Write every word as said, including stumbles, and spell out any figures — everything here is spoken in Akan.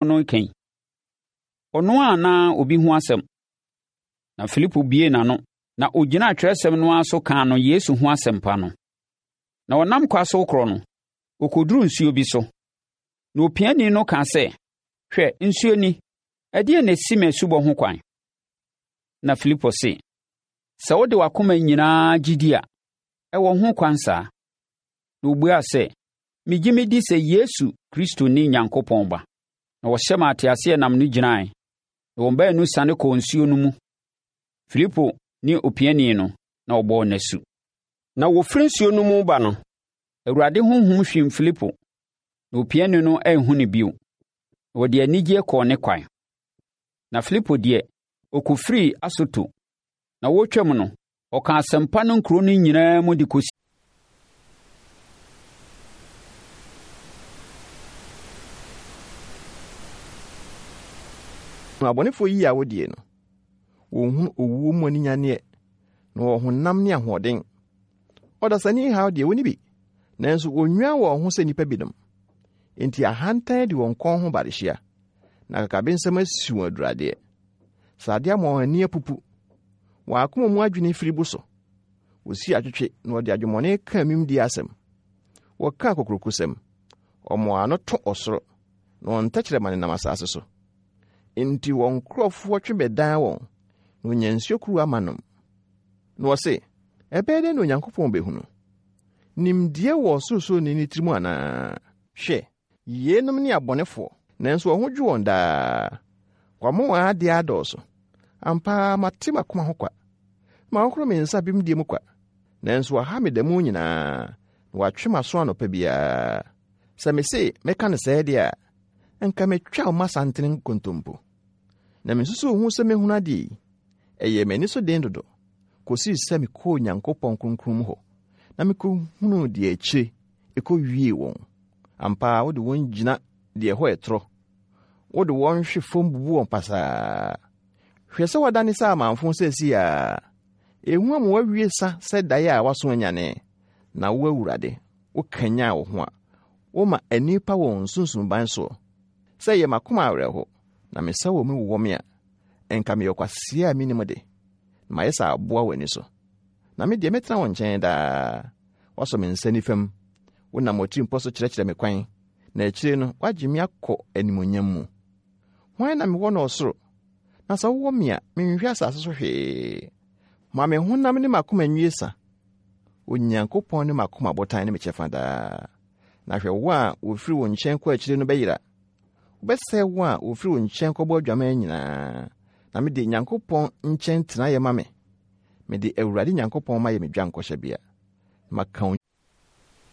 no reka yi? Ɔno ara anaa obi ho asɛm? Na Filipo buee n'ano, na ɔgyinaa twerɛsɛm no ara so kaa no Yesu ho asɛmpa no. Na wɔnam kwa so rekorɔ no, wɔkɔduruu nsuo bi so. Na opiani no kaa sɛ, “Hwɛ, nsuo ni! Ɛdeɛn na ɛsi me asubɔ ho kwan?” Na Filipo se, “Sɛ wode w'akoma nyinaa gye di a, ɛwɔ ho kwan saa.” Na ɔbuaa sɛ, “Megye medi sɛ Yesu Kristo ne Onyankopɔn Ba.” Na wɔhyɛ maa teaseɛnam no gyinaeɛ, na wɔn baanu siane kɔɔ nsuo no mu, Filipo ne opiani no, na wɔbɔɔ no asu. Na wɔfiri nsuo no mu reba no, Awurade Honhom hwim Filipo, na opiani no anhu no bio, na ɔde anigyeɛ kɔɔ ne kwan. Na Filipo deɛ, ɔkɔfirii Asoto, na wɔretwam no, ɔkaa asɛmpa no nkuro no nyinaa mu de kɔsii Abɔnefoɔ yi a wodie no, wɔnhunu owuo mu aninyanneɛ, na wɔwɔ honam ne ahoɔden. Ɔdasani haw deɛ wɔnni bi, nanso wɔnnwan wɔn ho sɛ nnipa binom. Enti ahantan di wɔn kɔn ho barehyia, na akakabensɛm asi wɔn aduradeɛ. Sradeɛ ama wɔn ani apupu, wɔn akoma mu adwene firi bu so. Wɔsi atwetwe na wɔde adwemmɔne ka amimdie asɛm. Wɔka akokurokosɛm. Wɔn ano to ɔsoro, na wɔn tɛkyerɛma nenam asase so. Enti wɔn nkurɔfoɔ twe bɛdan wɔn, na wɔnya nsuo kuruwa ma nom. Na wɔse, ɛbɛyɛ dɛn na Onyankopɔn bɛhunu? Nimdeɛ wɔ Ɔsorosoroni no tirim anaa? Hwɛ, yeinom ne abɔnefoɔ, nanso wɔn ho dwo wɔn daa. Wɔama wɔn adeɛ adɔɔso. Ampa ara mate m'akoma ho kwa. Mahohoro me nsa bemdie mu kwa. Nanso wɔaha me da mu nyinaa, na wɔatwe m'aso anɔpa biara. Sɛ mese mɛka no sɛɛ deɛ a, anka metwa wo mmasantene nkontompo. Na mesusuw ho sɛ mehunu adeɛ yi, ɛyɛɛ m'ani so den dodo, kɔsii sɛ mekɔɔ Onyankopɔn kronkron mu hɔ, na mekɔhunuu deɛ akyire ɛkɔwiee wɔn. Ampa ara wode wɔn gyina deɛ ɛhɔ yɛ torɔ. Wode wɔn hwe fam bubu wɔn pasaa. Hwɛ sɛ wɔadane sɛ amamfo seesei ara. Ehu ama wɔawie sa sɛ daeɛ a wɔaso anyane. Na wo Awurade, wokanyan wo ho a, woma ani pa wɔn nsunsunban soɔ. Sɛ ɛyɛ m'akoma awerɛho, na me nsa wɔ mu wowɔ me a, ɛnka meyɛ ɔkwasea a mennim de, na mayɛ sɛ aboa w'ani so. Na me deɛ mɛtena wo nkyɛn daa. Woasɔ me nsa nifa mu. Wonam w'atirimpɔ so kyerɛkyerɛ me kwan, na akyire no woagye me akɔ animuonyam mu. Hwan na mewɔ no ɔsoro? Na sɛ wowɔ me a, menhwehwɛ asase so hwee. Ma me honam ne m'akoma nwie sa. Onyankopɔn ne m'akoma botan ne me kyɛfa daa. Na hwɛ wo a wɔfiri wo nkyɛn kɔ akyire no bɛyera. Wobɛsɛe wo a wɔfiri wo nkyɛn kɔbɔ adwaman nyinaa. Na mede Nyankopɔn nkyɛn tena yɛ ma me. Mede Awurade Nyankopɔn mayɛ me dwankɔhyɛbea. Na maka